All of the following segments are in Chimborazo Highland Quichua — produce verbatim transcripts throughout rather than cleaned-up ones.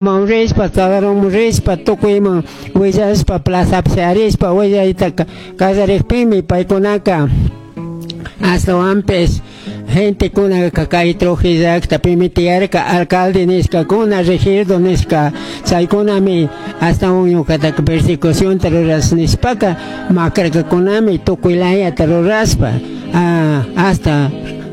Rishpa, Tadarón rishpa, tukuyman willashpa, plazapi shayarispa willayta kallarikpimi paykunaka ashtawanpish gentekunaka kay Trujillo llaktapimi tiyarka alcalde nishkakuna, regidor nishka, chaykunami ashtawan ñukataka persecucionta rurash nishpaka makarkakunami tukuy layata rurashpa, hasta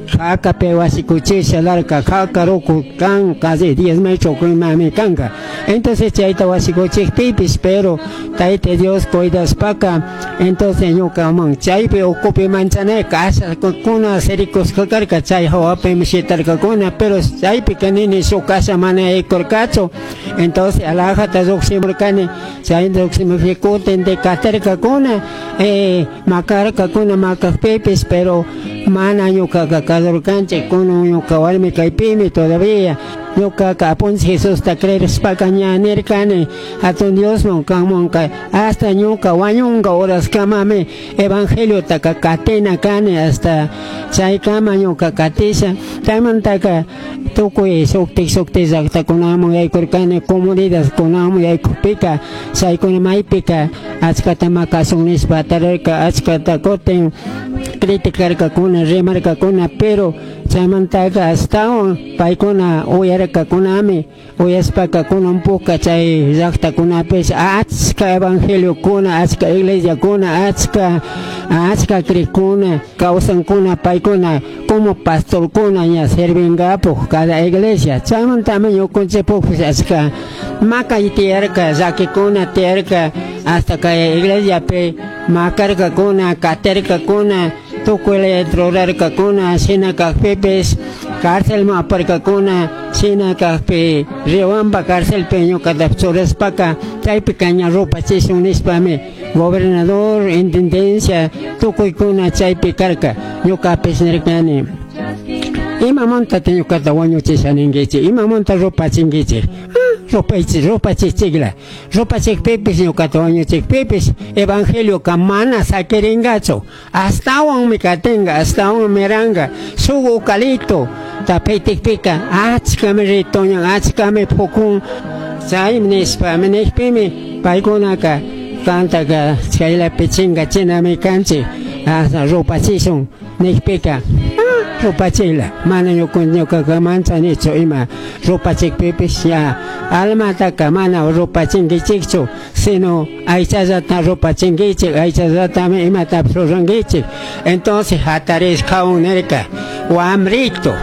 jakapi wasikuchisha larka jaka ruku kan casi diez metros imami kanka. Entonces chayta wasikuchikpipish, pero Tayta Dios cuidashpaka, entonces ñukaman chaypi ukupi manchanay kashakuna sirikushka karka, chay hawapimi shitarkakuna, pero chaypika nini shuk kasha mana yaykurkachu. Entonces alajata llukshimurkani, chay llukshimukpi kutin katirkakuna, eh, makarkakuna, makakpipish, pero mana ñukaka kasurkanchik, kunan ñuka warmi kaypimi todavía. Ñukaka Apunchik Jesusta creerishpaka ña nirkani hatun Diosman kanmanka hasta ñuka wañunka horaskamami evangeliotaka katina kani, hasta chaykama ñuka katisha. Chaymantaka tukuy shuktik shuktik llaktakunaman yaykurkani, comunidadkunaman yaykukpika chaykuna maypika achkata makashun nishpa tarirka, achkata kutin criticarkakuna, rimarkakuna, pero chaymantaka ashtawan paykuna uyarkakunami, uyashpaka kunan puka chay llaktakunapish achka evangeliokuna, achka iglesiakuna, achka achka crikuna kawsankuna, paykuna como pastorkuna ña servingapuj cada iglesia. Chaymantami ñukanchikpukpish achka makay tiyarka, llakikuna tiyarka, hasta kay iglesiapi makarkakuna, katirkakuna, tukuy layata rurarkakuna, shina kakpipish cárcelman aparkakuna, shina kakpi Riobamba cárcelpi ñukata churashpaka chaypika ña rupachishun nishpami gobernador, intendencia, tukuykuna chaypi karka. Ñukapish nirkani, imamantata ñukata wañuchisha ninkichik, imamanta rupachinkichik, rupaychik, rupachichikla, rupachikpipish ñukata wañuchikpipish evangelioka mana sakirinkachu, ashtawanmi katinka, ashtawanmi miranka. Shuk ukalito tapitikpika achkami ritoñan, achkami pukun, chaymi nishpa nikpimi paykunaka kantaka chaylapi chinkachinami kanchik, hasta rupachishun nikpika rupachila, mana ñukaka manchanichu ima rupachikpipish, ña almataka mana rupachinkichikchu, sino aychallata rupachinkichik, aychallatami imatapish rurankichik. Entonces hatarishkawan nirka, wamrito,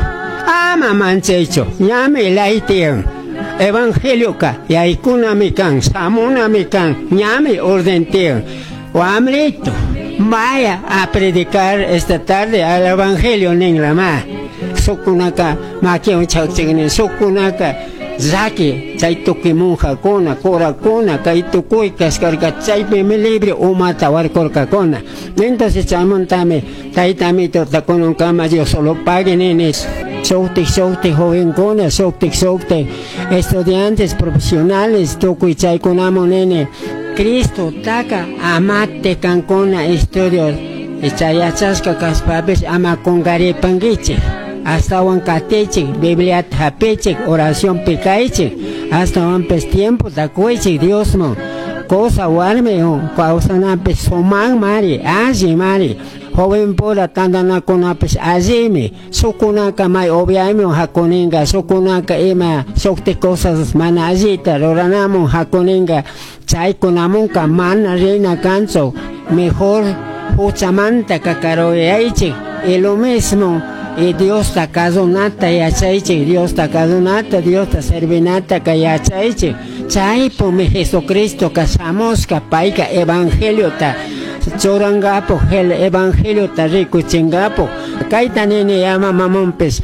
ama manchaychu, ñami ley tiyan, evangelioka yaykunami kan, shamunami kan, ñami orden tiyan, wamrito, vaya a predicar esta tarde al evangelio ninlama. Sukunaka makiwan chakchikni, sukunaka llaki chay tukuy monjakuna, curakuna, kay tukuy kashkarka, chaypimi libre umata warkurkakuna. Entonces chaymantami tayta Amitota kunankama Dios solo pague nini. Shuktik shuktik jovenkuna, shuktik shuktik estudiantes profesionales tukuy chaykunaman nini, Cristo taka amate kankuna estudios chay yachashka kashpapish ama kunkaripankichik, ashtawan katichik, Bibliata hapichik, oracionpi kaychik, ashtawanpish tiempota kuychik Diosman. Cosa warmi kawsanapish sumakmari, allimari, joven pura tantanakunapish allimi, shukunaka may upiayman hakuninka, shukunaka ima shuktik cosas mana allita ruranamun hakuninka, chaykunamunka mana rina kanchu, mejor huchamanta kakaruyaychik, y lo mismo y Diosta kasunata yachaychik, Diosta kasunata, Diosta servinata ka yachaychik. Chaypumi Jesucristo ka shamushka payka evangeliota churankapuj, el evangeliota rikuchinkapuj. Kayta nini yama mamanpish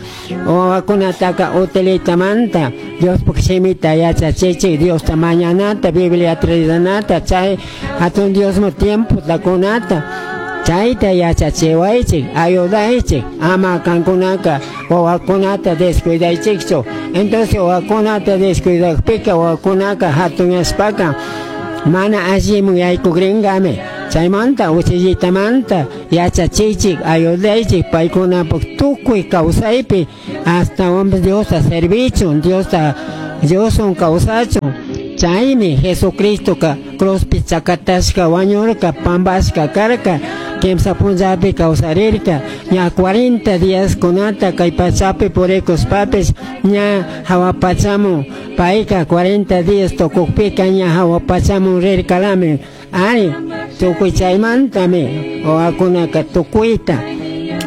wawakunataka utilitamanta Diospuk shimita yachachichik, Diosta mañanata, Biblia ridanata, chay hatun Diosman tiempota kunata, chayta yachachiwaychik, ayudaychik, ama kankunaka wawakunata descuidaychikchu. Entonces wawakunata descuidakpika wawakunaka hatunyashpaka mana alliman yaykukrinkami. Chaymanta uchillitamanta yachachichik, ayudaychik paykunapuk tukuy kawsaypi ashtawanpish Diosta servichun, Diosta Dioswan kawsachun. Chaymi Jesucristoka cruzpi chakatashka wañurka, pambashka karka, kimsa punllapi kawsarirka, ña cuarenta días kunata kay pachapi purikushpapis ña hawa pachamun payka cuarenta días tukukpika ña hawa pachamun rirkalami. Ari, tukuy chaymantami wawakunaka tukuyta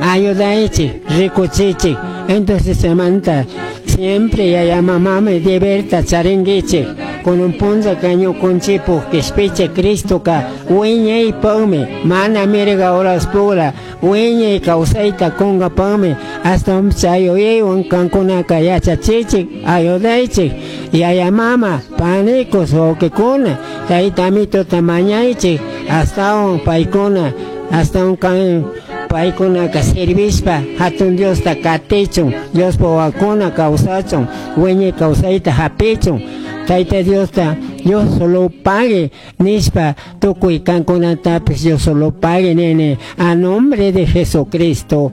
ayudaychik, rikuchichik. Entonces chaymanta siempre yaya mamami deberta charinkichik. Kunan punllaka ñukunchikpuk kishpichik Cristoka wiñaypakmi, mana mirga horaspura wiñay kawsayta kunkapakmi, ashtawan chay yuyaywan kankunaka yachachichik, ayudaychik. Yaya mama, panikus, wawqikuna, tayta amituta mañaychik, ashtawan paykuna, ashtawan kan paykunaka servishpa hatun Diosta katichun, Diospa wawakuna kawsachun, wiñay kawsayta hapichun. Tayta Diosta Dios solo pague nishpa tukuy kankunatapis Dios solo pague nini, a nombre de Jesucristo.